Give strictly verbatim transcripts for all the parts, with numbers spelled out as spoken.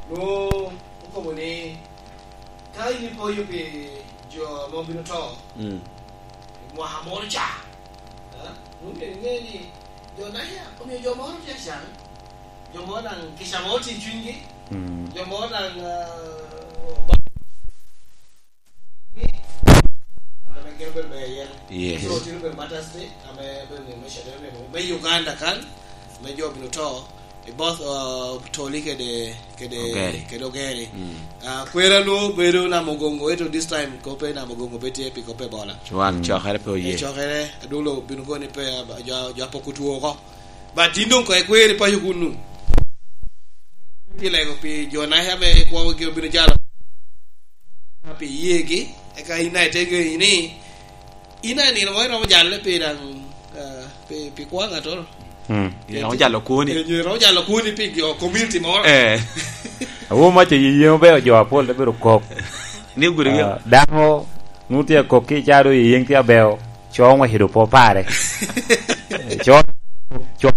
Nwoŋo okobo ni, ka in ipoyo pi jo ame obino to, mm, i mwaka moro ca, a, nwoŋo myero iŋe ni jo naca omio jo moro tye acan, jo moro daŋ kica moro tye i cwinygi, mm, jo moro daŋ, a, ame gin obedo ber iye. Yes. So, tye obedo Martyrs Day, ame obedo nino me Shadrach, me Uganda kan, me jo obino to, i both, uh, Toli kede, kede, Ogeri. Kede Ogeri. Mm. Ah, kwera lwo bedo Namugongo, eto this time kop pe Namugongo pe tye pi kop Ebola. Wan, mm, cokere pe oye. Eh, cokere, adwong lo bino koni pe, ah, jo, jo apoko two oko. But in doŋ ko ikweri paco kunu. Tye lego pi jo naca ame kwogi obino jalo pi yegi, eka in daŋ ite ŋeyi ni, in daŋ nino mo iromo jale pi daŋ, ah, pi, pi kwo ŋattoro. Hmm. Iromo jalo kwoni. Eh, iromo jalo kwoni pi jo community moro. Eh. Awo mac i yeyeŋo beo jo apol te bedo kok. Ni gudi. Ah, dano nu tye kok ki ca do yeyeŋ tye abeo. Co ŋwec i dopo pare. Co, co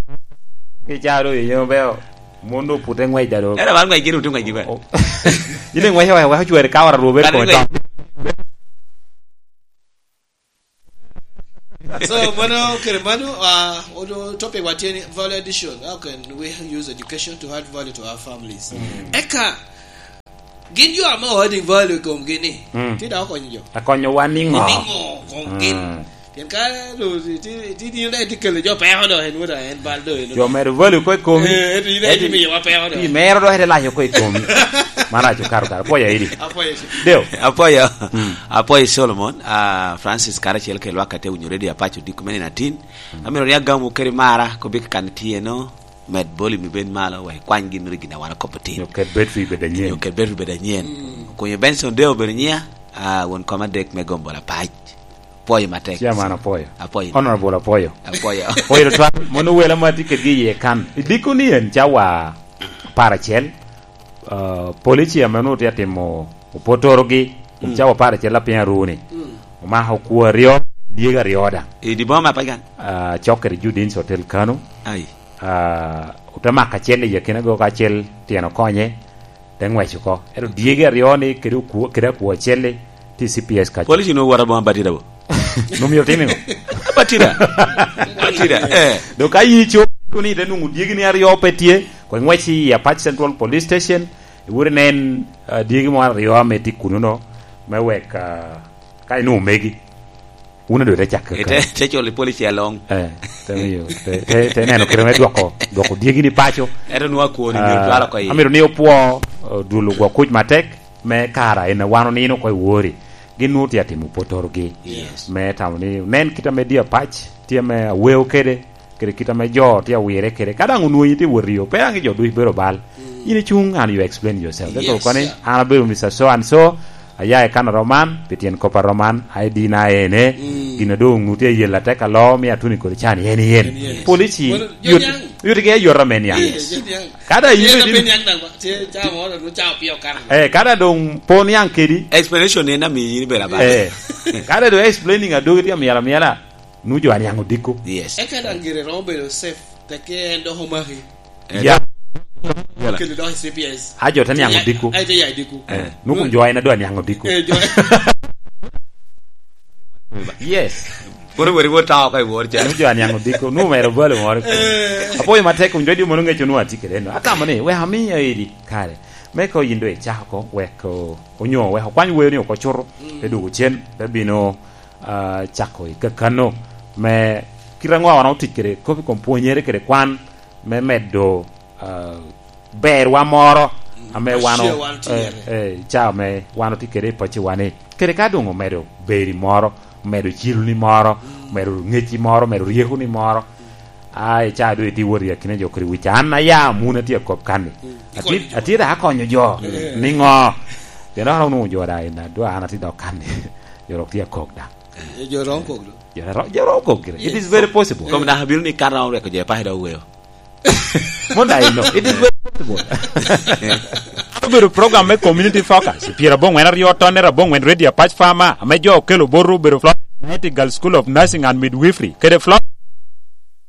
ki ca do yeyeŋo beo. Mon do pute ŋwec da do. Era wan ŋwec gin otu ŋwec gin. Oh. Ine ŋwec wa, wa chwere ka ora rube. Kare ko ŋwec. So, mano kere mano, ah, odo topic wa tye ni value addition. How can we use education to add value to our families? Mm. Eka, gin jo ame o adding value i komgi ni, mm, ti daŋ okonyo jo. Akonyo wa niŋo? Niŋo kom gin? Mm. Pien ka lo ti, ti, ti, ti, ti kelo jo peko do, en wada, en bal do, en. Jo medo value ko i komi. Eh, eti, eti, eti miyo wa peko do. Ti mero do ete layo ko i komi. Maraco karo karo. Apoya idi. Apoya idi. Deo. Apoya. Mm. Apoya Solomon, ah, Francis karacel ke lwak ate winyo redio apaco diko mene natin. Mm. Amiro ni agamu keri mara, ko bik kan tye no, med volume bed malo, wek kwany gin mere gin a wan okobo tin. Nyo ket bed fi bed anyen. Nyo ket bed fi bed anyen. Mm. Kunyo Benson Deo bedo nyia, ah, won koma dek me gombo la pac. Apoyo matek. Chairman apoyo. Apoyo. Honorable apoyo. Apoyo. Apoyo tutwal, mono wela ma tye kedgi iye kan. I diko ni en cawa apar acel, ah, polici ame onwoŋo tye atimo opotorogi, mm, cawa apar acel apiny aruni. Mm. Omako okwo aryo, dyegi aryo daŋ. I di boma pa gan? Ah, cok kede Judin's Hotel Kano. Ai. Ah, ote mako acel i akinago ka acel tyen okonye. Te ŋwec oko. Ento dyegi aryo ni kede okwo, kede akwo acel-li tye i C P S kaco. Police ni owot aboŋo batira bo? Nwoŋo myero tim iŋo? Batira. Batira, eh. Dok ka yi co, iko ni ite nwoŋo dyegi ni aryo pe tye, ko iŋwec i Apac Central Police Station, iwot inen, ah, dyegi mo aryo ame tye kuno-no, me wek, ah, ka inwoŋo megi. Wun a doŋ te cak kaka. Te, te col i polici aloŋ. Eh, te miyo, te, te, te neno kite me dwoko, dwoko dyegi ni paco. Ento nwoŋo akwoni myero, ah, twal oko iye. Amito ni opwo, eh, dul ogwo kuc matek, me kara en a wan onino oko i wori. Gin nwoŋo tye atimo potorogi. Yes. Me tamo ni onen kit ame Deo Apac tye ame aweo kede, kede kit ame jo tye awire kede. Ka daŋ onwoŋo in tye wot i yo, pe daŋ i jo duc bedo bal. Mm. In icuŋ and you explain yourself. Yes, sir. Koni, an abedo Mister So and So, aya i kan a rom man, pi tyen kop a rom man, I D na ene, mm, gin a doŋ onwoŋo tye ayel atek alo, mi atuni kodi can yen, yen. Yen, yen. Polici, well, yot, yot ige yot ame niaŋ. Yes, yot niaŋ. Ka da in tye bed in pe niaŋ daŋ ba, tye ca mo, no ca opio kan. Eh, ka da doŋ po niaŋ kedi. Explanation en amiyo in ibedo abalo. Eh. Ka da doŋ explaining adogi tye amyel amyela, nu jo aniaŋ odiko. Yes. Eka daŋ gire romo bedo safe, teke en dok omaki. Eh, ya. Kede dok i C P S. A jo te niaŋ odiko. Ai, te ya odiko. Eh, nu kun jo en adwa niaŋ odiko. Eh, jo. Yes. Kono weri wot tao ka i wor ca. Nu jo aniaŋ odiko, nu mero balo moro. Eh. Apoyo matek kun jo di mono ŋeco nu atye kede no. Atamo ni, we ami ya edi kare. Me ko yin do icako ko, wek o-, onyo wek okwany weo ni oko cuto, mm, te dugo cen, te bino, ah, cako i kakano. Me kite aŋo wan otic kede kop i kom pwonyere kede kwan, me medo, ah, berwa moro, mm, ame wan o-, eh, eh, ca ame wan otye kede i pacciwa ni. Kede ka doŋ omedo beri moro, omedo ciloni moro, mm, omedo ŋecci moro, omedo ryekoni moro. Mm. A, i ca doŋ itye wot i akina jo kede wic. An aya mun atye akop kan-ni. Mm. Atye, ikonyo jo. Atye daŋ akonyo jo. Mm. Niŋo? Pien dok onwoŋo jo daŋ i adwa an atye dok kan-ni. Jo dok tye akok daŋ. Eh, jo romo kok do. Jo ro-, jo romo kok gire. It is very possible. Yes. Kom dok abino ni kan romo rweko jo i paco dok oweo. Mon daŋ ino. It is very possible. Obedo program me community focus. Pyera aboŋwen aryo tonne aboŋwen Radio Apac Farmer, ame jo okelo botwu obedo Florence Nightingale School of Nursing and Midwifery, kede Florence